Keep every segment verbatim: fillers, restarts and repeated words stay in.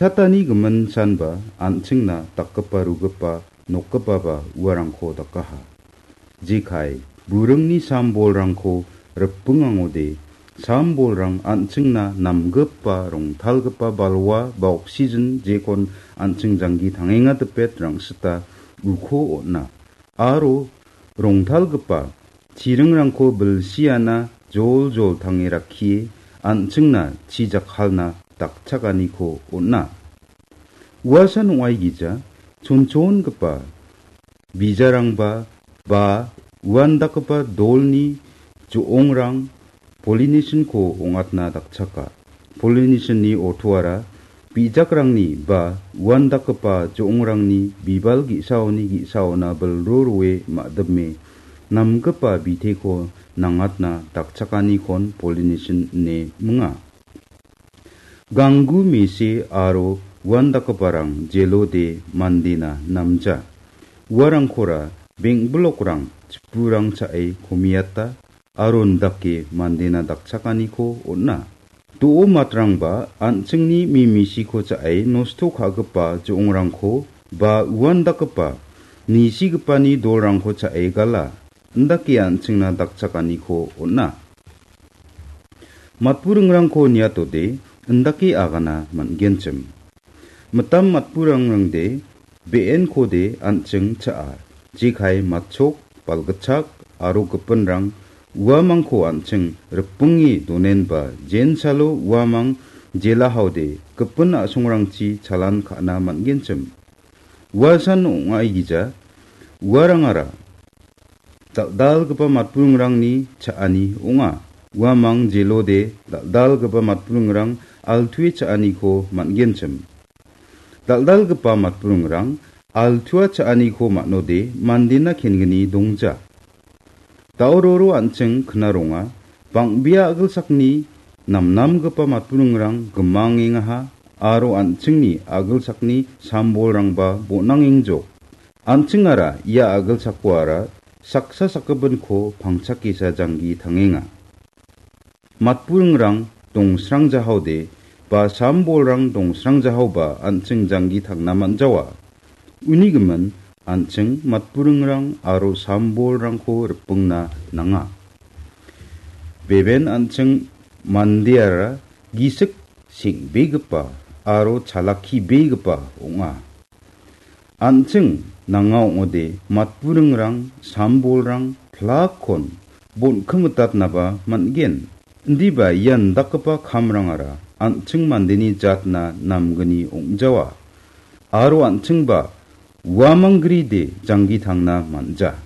Chatani gimin sanba an·chingna dakgipa rugipa nokgipaba uarangko dakaha. Jekai, buringni sam-bolrangko ripingangode, sam-bolrang an·chingna namgipa rongtalgipa balwa ba oksigen jekon an·ching janggi tangenga dipet rangsita uko on·a. Aro rongtalgipa chiringrangko bilsiana joljol tange rakkie an·chingna chi jakkalna dakchakaniko on·a. Uasan ong·aigija chonchongipa bijarangba ba uandakgipa dolni jo·ongrang pollination-ko ong·atna dakchaka. Pollination-ni ortoara bijakrangni ba uandakgipa jo·ongrangni bibal ge·saoni ge·saona bilro roe ma·dime namgipa biteko nangatna dakchakanikon pollination ine minga. Ganggu mese aro uandakgiparang jelode mandena namja. Uarangkora beng·bilokrang chipurang cha·e komiata aro indake mandena dakchakaniko on·a. Do·o matrangba an·chingni mimisiko cha·e nosto ka·gipa jo·ongrangko ba uandakgipa nisigipani dolrangko cha·e gala, indake an·chingna dakchakaniko on·a. Matburingrangko niatode indake agana man·genchim. Mitam matburingrangde be·enkode an·ching cha·a. Jekai matchok, balgitchak aro gipinrang uamangko an·ching ripinge donenba jensalo uamang jelahaode gipin a·songrangchi chalan ka·na man·genchim. Uasan ong·aigija uarangara dal·dalgipa matburingrangni cha·ani ong·a. Uamang jelode dal·dalgipa matburingrang altuwe cha·aniko man·genchim. Dal·dalgipa matburingrang altua cha·aniko man·ode mandena kengni dongja. Daororo an·ching knaronga, bang·bea a·gilsakni namnamgipa matburingrang gimangengaha aro an·chingni a·gilsakni sam-bolrangba bon·angengjok. An·chingara ia a·gilsakoara saksa sakgipinko pangchakesa janggi tangenga. Matburingrang dongsrangjahaode ba sam-bolrang dongsrangjahaoba an·ching janggi tangna man·jawa. Uni gimin an·ching matburingrang aro sam-bolrangko ripingna nanga. Beben an·ching mandeara gisik seng·begipa aro chalakkibegipa ong·a. An·ching nanga ong·ode matburingrang, sam-bolrang, plakkon bon·kimitatnaba man·gen. Indiba ian dakgipa kamrangara an·ching mandeni jatna namgni ong·jawa. Aro an·chingba uamang gride janggi tangna man·ja.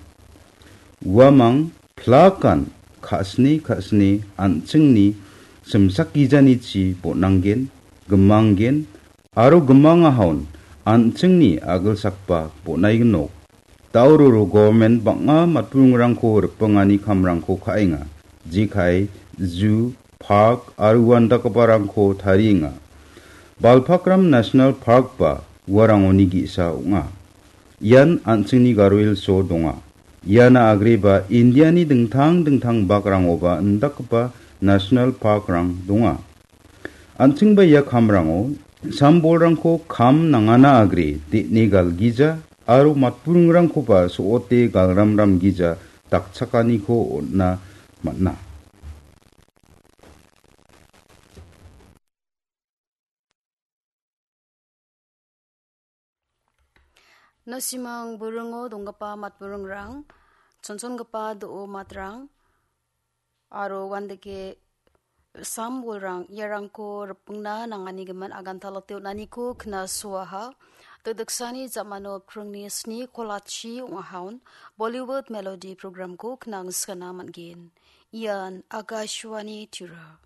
Uamang plakan ka·sni ka·sni an·chingni simsak gijanichi bon·anggen, gimanggen, aro gimangahaon an·chingni a·gilsakba bon·aignok. Daororo government bang·a matburingrangko ripingani kamrangko ka·enga. Jekai, zoo, park aro uandakgiparangko tarienga. Balpakram National Park ba uarangoni ge·sa ong·a. Ian an·chingni Garo Hills-o donga. Iana agreba Indiani dingtang dingtang bakrangoba indakgipa national park-rang donga. An·chingba ia kamrango sam-bolrangko kam nangana agre de·ne galgija aro matburingrangkoba so·ote galramramgija dakchakaniko on·na man·a. Nasimang buringo donggipa matburingrang, chonchongipa do·o matrang, aro uandake sam-bolrang iarangko ripingna nangani gimin aganta lote on·aniko knasoaha. Dikdiksani jamano pringni sni kolachi ong·ahaon Bollywood Melody programko knangskana man·gen. Ian Akashvani Tura.